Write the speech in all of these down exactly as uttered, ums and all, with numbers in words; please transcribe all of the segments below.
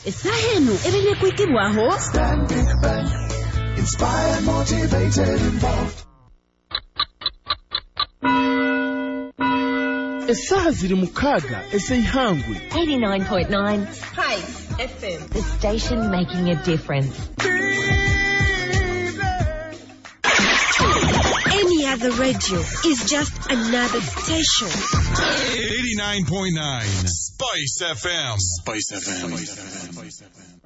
Essaaha eno ebaire kwikibwaho Stanbic Bank. Inspired, motivated, involved. Essaaha ziri mukaaga ez'eihangwe. eighty-nine point nine Spice F M. The station making a difference. Any other radio is just another station. eighty-nine point nine Spice F M. Spice F M. Spice F M.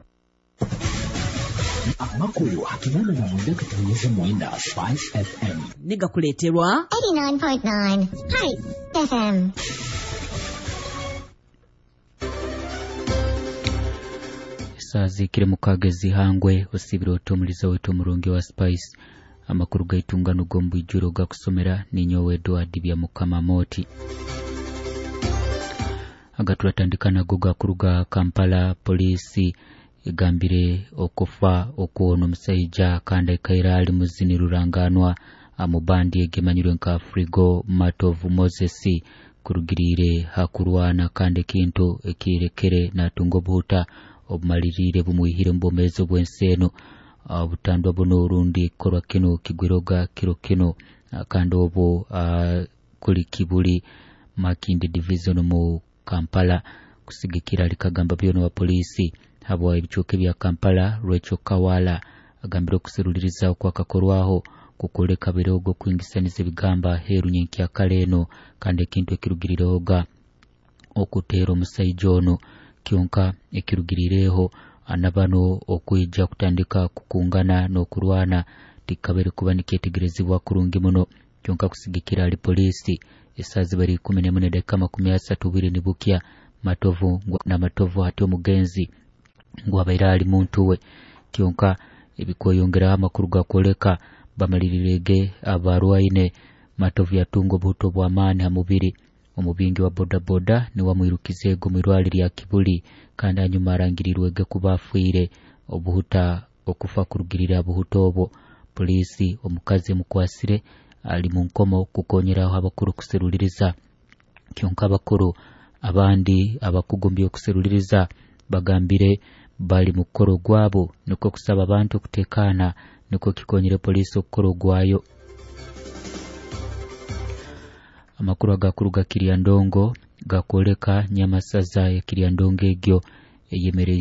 Amakulu hakinana na mwenda katunyeze mwenda Spice F M. Nega kuleterwa eighty-nine point nine Spice F M. Sazi kire mukagezi hangwe osibiro otomuliza wetu omurungi wa Spice. Amakuru gaitungano gombu gakusomera ninyowe Edward bya Mukama Moti. Agatulatandika nago gakuruga Kampala. Polisi egambire okufa okuona omusajja kandi akaira ali muzini ruranganwa amubandi egemanyirwe nka Frigo Matovu Moses kurugirire hakurwana kandi ekintu ekirekere natunga obuhuta obumalirire bumuhire mbomezo bw'enseno. Obutandwa buno orundi korwa kino kigwiroga kiro kino kandi obo kuli Kibuli Makindye Division mu Kampala. Kusigikira likagamba byono wa polisi habwa ebicuke bya Kampala Rachel Kawala agambira okuseruliriza okwakakorwaho kukoleka birogo kwingisaniza ebigamba heru nyenkya kaleno kandi ekintu ekirugirirehoga okutera omusajja ono kyonka ekirugirireho anabano okwijja kutandika kukungana n'okurwana tikabere kuba nikyetegerezibwa kurungi muno. Kyonka kusigikira ali polisi esazi bari kumi n'emwe dakika makumi asatu biri nibukya Matovu na Matovu hati omugenzi ngu abaira ali muntu we. Kyonka ebikoyongera amakuru gakoleka bamalirirege abarwaine Matovu yatunga obuto bw'amaani ha mubiri. Omubingi wa bodaboda ni wamwirukizego mwirwali lya Kibuli kandi anyuma arangirirwege kuba afiire obuhuta okufa kurugirira buhuta obwo. Polisi omukazi mukwasire ali mu nkomo kukonyeraho abakuru kuseruliriza. Kyonka abakuru abandi abakugumbye okuseruliriza bagambire bali mukoro gwabo niko kusaba abantu kutekana niko kikonyere polisi okukoro gwayo. Amakuru agakuruga Kiryandongo gakoleka nyamasaza ya Kiryandongo egyo eyemereye